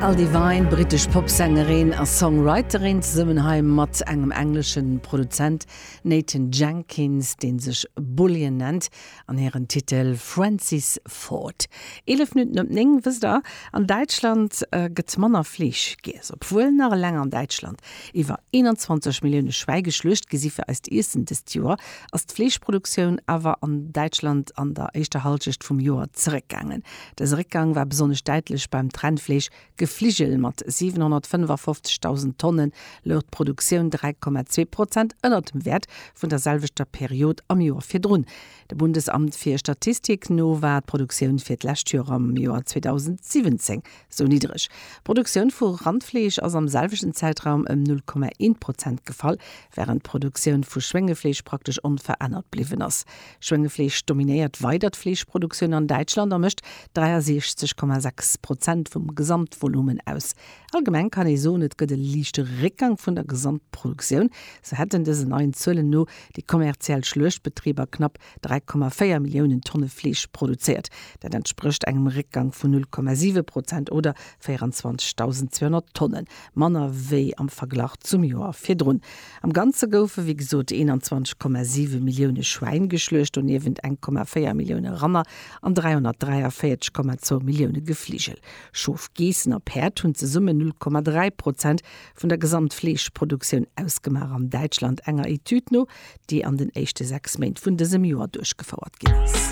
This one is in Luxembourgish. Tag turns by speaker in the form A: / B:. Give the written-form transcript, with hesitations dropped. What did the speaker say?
A: Al Devine, brittesch Popsängerin a Songwriterin, zesummen hei mat engem englesche Produzent, Nathan Jenkins, dee sech Bullion nennt, an hiren Titel Francis Ford. 11 Minutten op 9, wësst der, an Däitschland gëtt manner Fleesch giess. Obwuel nach eleng an Däitschland iwwer 21 Millioune Schwäi geschluecht gi si fir eist Iessen dëst Joer, ass d'Fleeschproduktioun awer an Däitschland an der éischter Hallschecht vum Joer zeréckgaangen. Dëse Réckgang war besonnesch däitlech beim Trennfleesch Gefligel. Mat 755.000 Tonne louch d'Produktioun 3,2 Prozent ënnert dem Wäert vun der selwechter Period am Joer virdrun. Dem Bundesamt fir Statistik no war d'Produktioun fir d'lescht Joer am Joer 2017 sou niddreg. D'Produktioun vu Randfleesch ass am selwechten Zäitraum ëm 0,1 Prozent gefall, wärend d'Produktioun vu Schwéngefleesch praktesch onverännert bliwwen ass. Schwéngefleesch dominéiert weider d'Fleeschproduktioun an Däitschland a mécht 63,6 Prozent vum Gesamtvolumen aus. Allgemeng kann ee soen, et gëtt e liichte Réckgang vun der Gesamtproduktioun. Sou hätten dësen neien Zuelen no déi kommerziell Schluechtbetriber knapp 3,4 Milliounen Tonne Fleesch produzéiert. Dat entsprécht engem Réckgang vun 0,7 Prozent oder 24.200 Tonne manner wéi am Verglach zum Joer virdrun. Am Ganze goufe wéi gesot 21,7 Millioune Schwäin geschluecht, doniewent 1,4 Millioune Ranner an 343,2 Millioune Gefligel. Schof, Geessen a Päerd hunn zesummen 0,3 Prozent vun der Gesamtfleeschproduktioun ausgemaach an Däitschland, enger Etüd no, déi an den éischte 6 Méint vun dësem Joer duerchgefouert ginn ass.